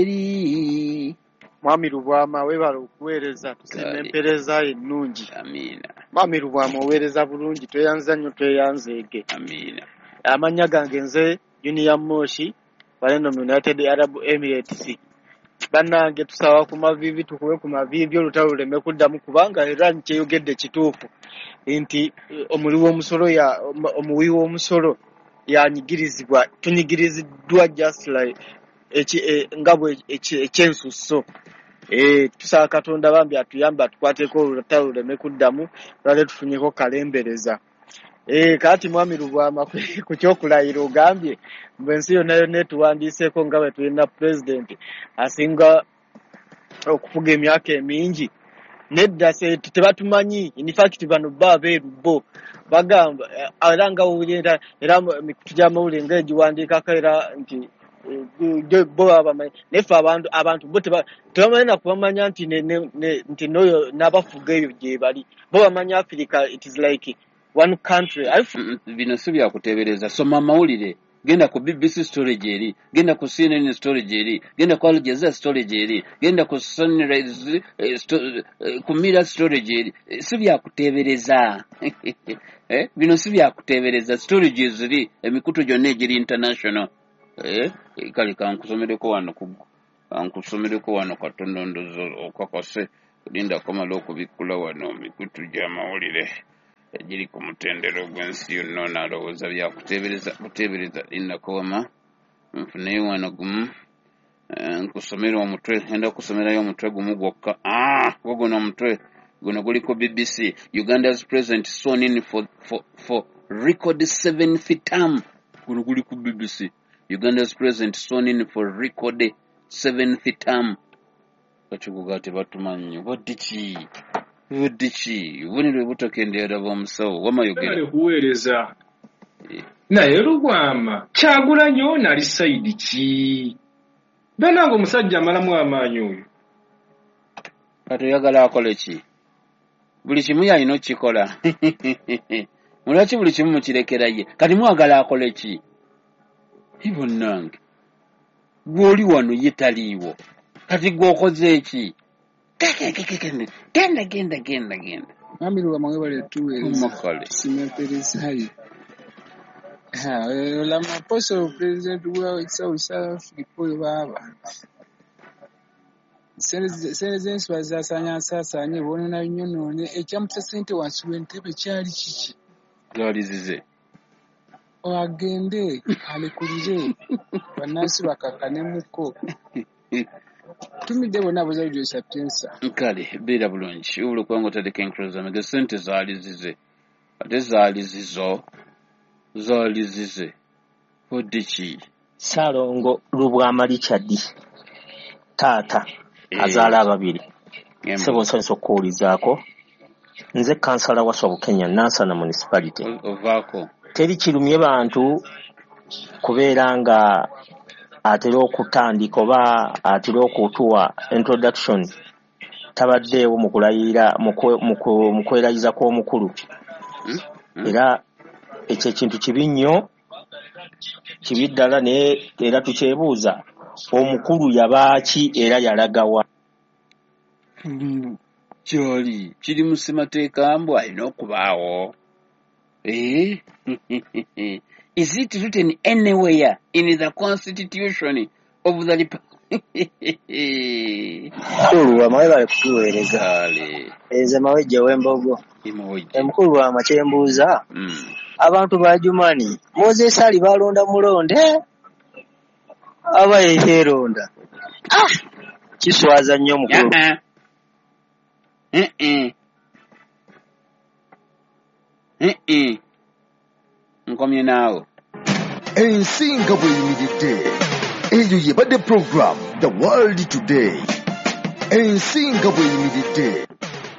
Eri. Mwami Lubwama, weebale okuweereza, tusiima Kale. Empeereza yo ennungi. Amiina. Mwami Lubwama, oweereza bulungi, tweyanza nnyo, tweyanzeege. Amiina. Amannya gange nze Junior Moshi, baleno mu United Arab Emirates. Bannange, tusaba ku maviivi, tukube ku maviivi, olutalo luleme kuddamu, kubanga era nkyeyogedde kituufu nti omuwi w'omusolo ya omuwi w'omusolo yanyigirizibwa, tunyigiriziddwa just like nga bwe ekyensusso. Tusaba Katonda bambi atuyambe, atukwateko, olutalo luleme kuddamu, lwale tufunyeko kalembereza. Kaati Mwami Lubwama, ku kyokulayira ogambye mbu ensi yonna yonna etuwandiiseeko nga bwe tulina pulezidenti asinga okufuga emyaka emingi. Nedda, tebatumanyi. In fact, bano bo abeeru bo bagamba era nga wulira era mikutu gy'amawulire nga egiwandiikako era nti bo baba bamanyi, naye ffe abantu bo tebamanyi na kubamanya nti nti n'oyo n'abafuga eyo gye bali. Bo bamanyi Africa, it is like one country. Bino si byakuteebereza. Soma amawulire, genda ku BBC story gyeri, genda ku CNN story gyeri, genda ku Al Jazeera story gyeri, genda ku Sunrise, ku Mirror story gyeri. Si byakuteebereza. Bino si byakuteebereza, story gyeziri, emikutu gyonna egiri international. Kale kankusomereko wano katono, ndozo okakase, linda kamala okubikkula wano mikutu gy'amawulire egiri ku mutendera ogw'ensi yonna. Onaalowooza byakuteebereza buteebereza. Lindako wama nfuneyo wano gumu. Nkusomera omutwe, ngenda kusomerayo omutwe gumu gwokka. Ah, guno omutwe guno guliko BBC: "Uganda's president sworn in for record seventh term." Guno guli ku BBC: "Uganda's president sworn in for record seventh term." Kakikuga tebatumanyi obadde ki, obadde ki? Obubonero butakendeera bw'omusawo wamayogera. Webale kuweereza. Naye Lubwama, Kyagulanyi ono ali side ki? Bannange, omusajja amalamu amaanyi oyo. Kati oyagala akole ki? Buli kimu yalina okukikola. Mulwaki buli kimu mukirekera ye? Kati mwagala akole ki? Bonnange, gw'oli wano, ye taliiwo, kati gwe okoze eki? Genda, genda, genda, genda. Mwami Lubwama, webale tuweereza. Omakale. Tusiima empeereza yo. Ramaphosa, president wa South Africa oyo, baaba sente z'ensi bazaasaanya nsaasaanye, bonoona nnyonoone. Ekyamusa ssente wansi w'entebe kyali kiki? Zaali zize. Agende alekulire bannansi bakakkanemuko. Tumidde bonna aboza Radio Sapienza. Kale beera bulungi, wabula okubanga otaddeko enkuluza mege. Sente zaali zize, ate zaali zizo, zaali zize, odde ki? Ssaalongo Lubwama Richard, taata azaala ababiri. Ssebo, nsanyuse okukuwulizaako. Nze kansala wa Bukenya, Nansana Municipality. Ovaako. Teri kirumye bantu kubeera nga atera okutandika oba atera okutuwa introduction, tabaddeewo mu kulayira, mu kwerayiza kw'omukulu. Era ekyo ekintu kibi nnyo, kibi ddala, naye era tukyebuuza omukulu yabaaki era yalagawa? Kyoli kiri mu ssemateeka mbu alina okubaawo. Is it written anywhere in the constitution of the Mukulu Lubwama, webale kutuweereza. Kale. Nze Mawejje w'Embogo. Emawejje. Emukulu Lubwama, kyembuuza, abantu ba Jumani, Moses Ali balonda mulonde aba yeeronda? Ah, kiswaza nnyo, mukulu. Uh-uh. Uh-uh. Nkomye naawe. Ensi nga bw'eyimiridde, eyo yebadde program The World Today, ensi nga bw'eyimiridde.